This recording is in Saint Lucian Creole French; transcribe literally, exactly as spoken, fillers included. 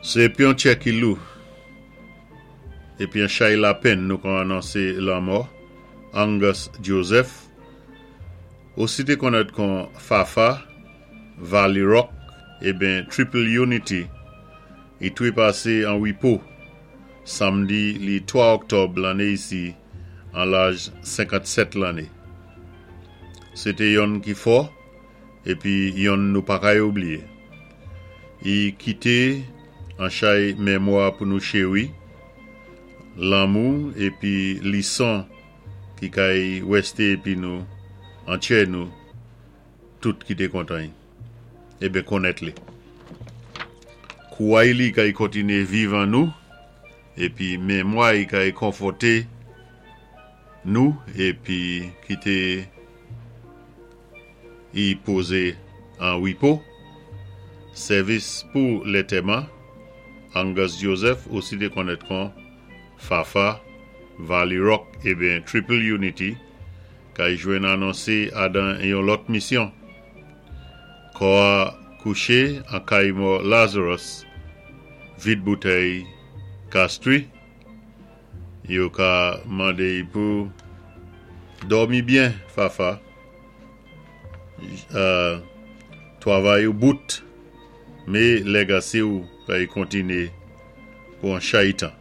Sé épi yon tjè ki lou, épi yon chay lapenn nou kon anonsé lanmò Angus Joseph, osi té konnèt kon Fafa, Valley Rock, ébyen Triple Unity, i twé pasé an wipo, samdi li twa òktòb lanné isi, an laj senkantsèt lanné. Sé té yonn ki fò, épi yonn nou pa kay oubliyé. I kité an chay mémwa pou nou chéwi, lanmou épi lison ki kay wèsté épi nou, an tjè nou, tout ki té kontan, ébyen konnèt li. Kouway li kay kontiné viv an nou, épi mémwa i kay konfòté nou, épi kité i pozé an wipo. Sèvis pou lantèman, Angus Joseph, osi té konnèt kon Fafa, Valley Rock, ébyen Triple Unity, kay jwenn anonsé adan yon lòt misyon. Kò a kouché an kay mò Lazarus, vid boutèy Castries, yo ka mandé pou dòmi byen, Fafa. Euh, twavay ou bout, mé légasé ou kay kontiné pou an chay tan.